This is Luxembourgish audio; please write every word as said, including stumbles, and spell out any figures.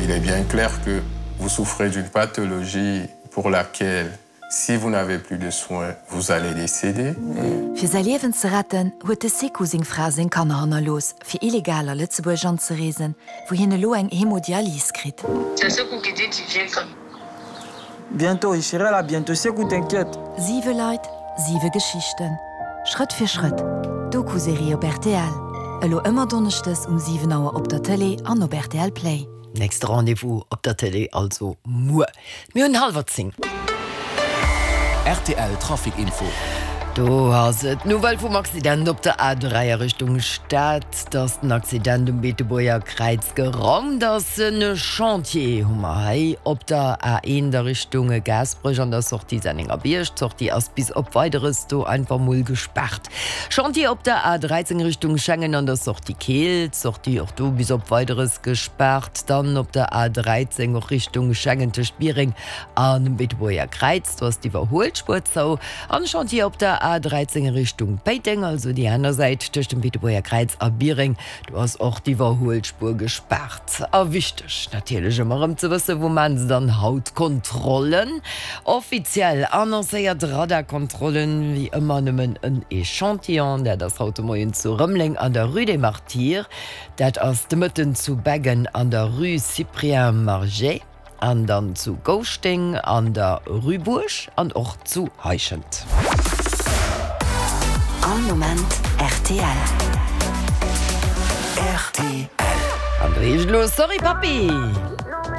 Il est bien clair que vous souffrez d'une pathologie pour laquelle si vous n'avez plus de soins, vous allez décéder. Fir säi Liewen ze retten, huet de Sekou seng Fra a seng Kanner hannerlooss, fir illegal a Lëtzebuerg anzereesen, wou hien elo eng Hemodialys kritt. C'est Sekou qui dit tu viens quand? Bientôt, je serai là bientôt. Sekou, t'inquiète. Siwe Leit, siwe Geschichten. Schrëtt fir Schrëtt, Doku-Serie op rtl. Elo ëmmer donneschdes um siwen Auer op der Tëlee an op rtl Play. Nächste Rendez-vous op der Tëlee also muer. Mir hunn hallwer zéng. Rtl Trafic Info. Do ass et d'Nouvelle vum Accident op der A dräi a Richtung Stad. Dass den Accident um Beetebuerger Kräiz geraumt ass. En Chantier hu mer hei op der A eent a Richtung Gaasperech an der Sortie Sennengerbierg. D'Sortie ass bis op Weideres do einfach mol gespaart. Chantier op der A dräizéng Richtung Schengen an der Sortie Keel. D'Sortie och do bis op Weideres gespaart. Dann op der A dräizéng och Richtung Schengen tëscht Biereng an dem Beetebuerger Kräiz. Do ass d'Iwwerhuelspuer zou. An Chantier op der A dräizéng Richtung Péiteng, also déi aner Säit tëscht dem Beetebuerger Kräiz a Biereng, do ass och d'Iwwerhuelspuer gespaart. A wichteg natierlech ëmmer erëm ze wëssen, wou maachen se dann haut Kontrollen? Offiziell annoncéiert Radarkontrollen, wéi ëmmer nëmmen en Echantillon, dat ass haut de Moien zu Rëmeleng an der Rue des Martyrs, dat ass de Mëtten zu Beggen an der Rue Cyprien Margé. An dann zu Gouschteng an der Rue Buerg an och zu Heischent. All Moment rtl. Rtl. An do heescht et elo Sorry Papi!